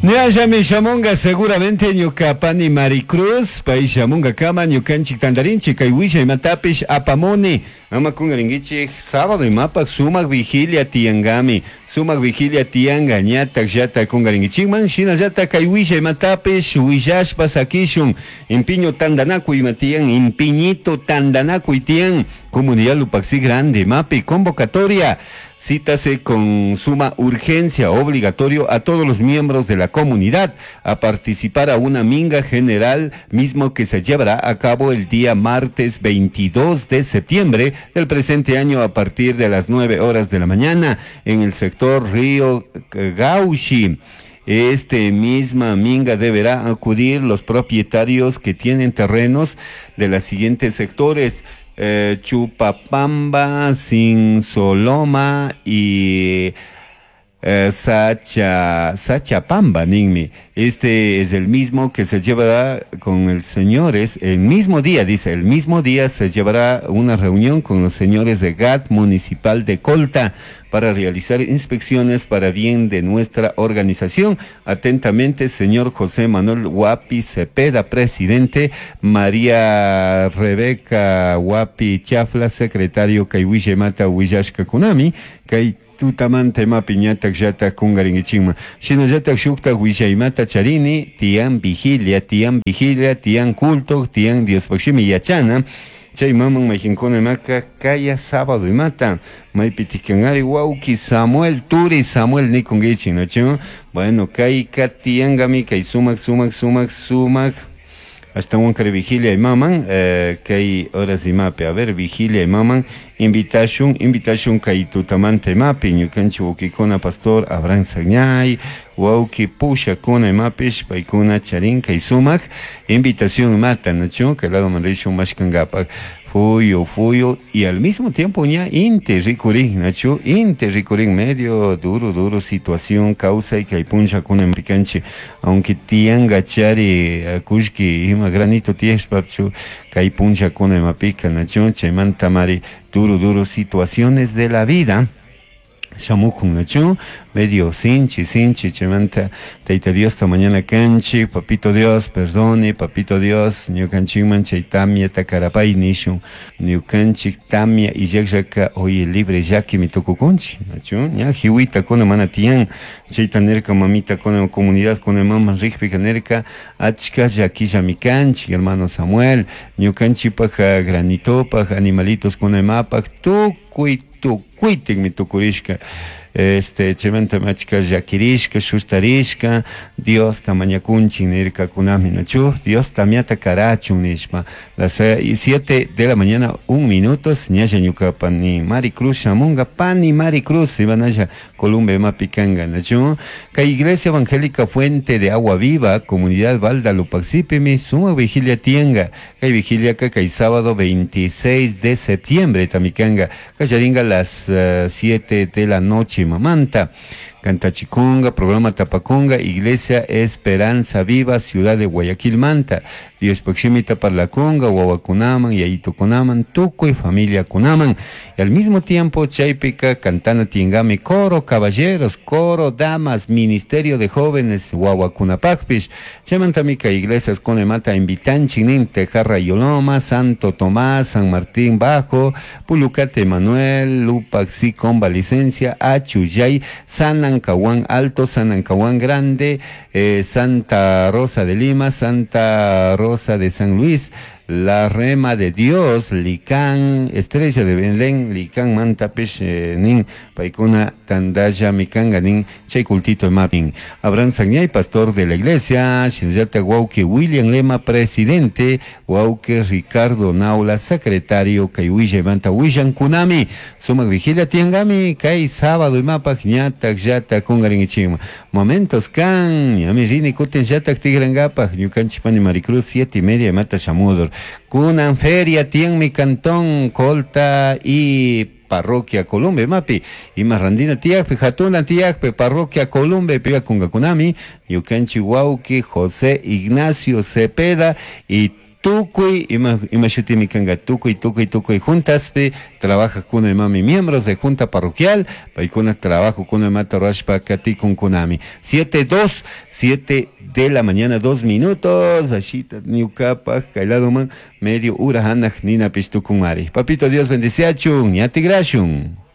Ñallami shamunga seguramente ñuka pani Maricruz, pay shamunga kama ñukanchik tantarinchik kay willaymantapish apamuni. Ama kungarinkichik sábado imapak sumak vigilia tiyangami, sumak vigilia tiyanga ñatak llata kungarinkichikman, shinallata kay willaymantapish willashpa sakishun. Impiño tandanakuy ima tiyan, impiñito tandanakuy tiyan, Comunidad Lupaxi Grande, mapi convocatoria. Cítase con suma urgencia obligatorio a todos los miembros de la comunidad a participar a una minga general mismo que se llevará a cabo el día martes 22 de septiembre del presente año a partir de las 9 horas de la mañana en el sector Río Gauchi. Este misma minga deberá acudir los propietarios que tienen terrenos de los siguientes sectores: Chupapamba, Sinsoloma y Sachapamba, ninmi. Este es el mismo que se llevará con el señores, el mismo día, dice, el mismo día se llevará una reunión con los señores de GAT Municipal de Colta para realizar inspecciones para bien de nuestra organización. Atentamente, señor José Manuel Guapi Cepeda, presidente, María Rebeca Guapi Chafla, secretario, kay willaymata willashkakunami, kay tutamanta imapi ñatak llatak kungarinkichikman. Shinallatak shuktak willaymata charini, tiyan vigilia, tiyan vigilia, tiyan culto, tiyan Diospaj shimi yachana. Chay maman mayqinkuna imaka kaya sábado imata maypi tikanari wawki Samuel Turi Samuel nikunkichik, ¿no? Bueno, kayka tiyankami kay sumak sumak sumak sumak ashtawan kari vigilia imaman, kay horas imapi, a ver, vigilia imaman, invitashun, invitashun kay tutamanta imapi, ñukanchik wawkikuna pastor Abraham Sagñay, wawki pushakuna imapish, paykuna charin kay sumak, invitación imata, ¿no? Kay lado manrishun mashkangapak, fuyo, fuyo, y al mismo tiempo ña inti rikurin, ¿no? Inti rikurin, medio duro, duro situación, causa y kay punchakuna pikanchik, aunque tianga chari, kushki, ima granito tiyashpachu, kay punchakuna imapika, ¿no? Chaymanta mari, duro, duro situaciones de la vida, shamukun, ¿no? Medio sinchi, sinchi, chaymanta, Tayta Dios ta mañana kanchi, papito Dios, perdone, papito Dios, ñukanchikman chay tamia takarapay nishun, ñukanchik tamia illakllaka oye libre llakimi tukukunchik, ¿no? Ña jiwita kuna mana tiyan, chayta nirka mamita kuna comunidad kuna mama rikpika nirka, achka llakillami kanchik, hermano Samuel, ñukanchikpak granitopak, animalitos kuna imapak, tukuy tukuytikmi tukurishka. Chaymanta achka llakirishka, shustarishka, Dios ta mañakunchik nirkakunami, ¿no? Dios tamiata karachun nishpa. Las 7 de la mañana, 1 minuto, ñalla ñuka pani Maricruz shamunga, pani Maricruz, ibanalla Columbe mapikanga, ¿no? Kay Iglesia Evangélica Fuente de Agua Viva, Comunidad Balda Lupaxipimi, suma vigilia tianga, kay vigilia ka kay sábado 26 de septiembre, tamikanga, kallaringa las 7 de la noche, mamanta. Cantachiconga, programa Tapaconga, Iglesia Esperanza Viva, Ciudad de Guayaquil, Manta. Dios Poximita Parlaconga, Huahuacunaman, Yayito Cunaman, Tuco y familia Cunaman. Y al mismo tiempo, Chaypica, Cantana Tiengame, Coro Caballeros, Coro Damas, Ministerio de Jóvenes, Huahuacunapacpish, Chamantamika, Iglesias Conemata, Invitanchinin, Tejarra Yoloma, Santo Tomás, San Martín Bajo, Pulucate Manuel, Lupaxi, Comba Licencia, Achuyay, San Ancahuán Alto, San Ancahuán Grande, Santa Rosa de Lima, Santa Rosa de San Luis, La Rema de Dios, Licán, Estrella de Belén, Licán, Mantapish, Nin, Paicuna, Tandaya, Mikanga, Nin, Chaycultito, Mapin. Abraham Sagñay, pastor de la iglesia, Shinjata Guauque, William Lema, presidente, Guauque, Ricardo Naula, secretario, Kayuilla, Manta, William Kunami, Sumac Vigilia, Tiangami, Kay, sábado, Imapak, Ñatak, Yata, Kungarin, Ichima. Momentos, Kan, Yami, Rini, Kuten, Yatak, Tigrangapa, Ñukanchipani, Maricruz, 7:30, Mata, Chamudor. Kunan feria tien mi cantón Colta y parroquia Columbe mapi y marrandina tiakpe jatuna tiakpe parroquia Columbe pia kungakunami ñukanchi wawki José Ignacio Cepeda y Tukuy ima ima shutimi kanka tukuy tukuy tukuy juntaspi trabajajkuna imami miembros de junta parroquial paykuna trabajokuna imata rurashpa katikunkunami. 7 2 7 de la mañana 2 minutos ashita ñukapaj kay ladoman medio hora hanaj ninapish tukunmari. Papito Dios bendiciachun ña tigrashun.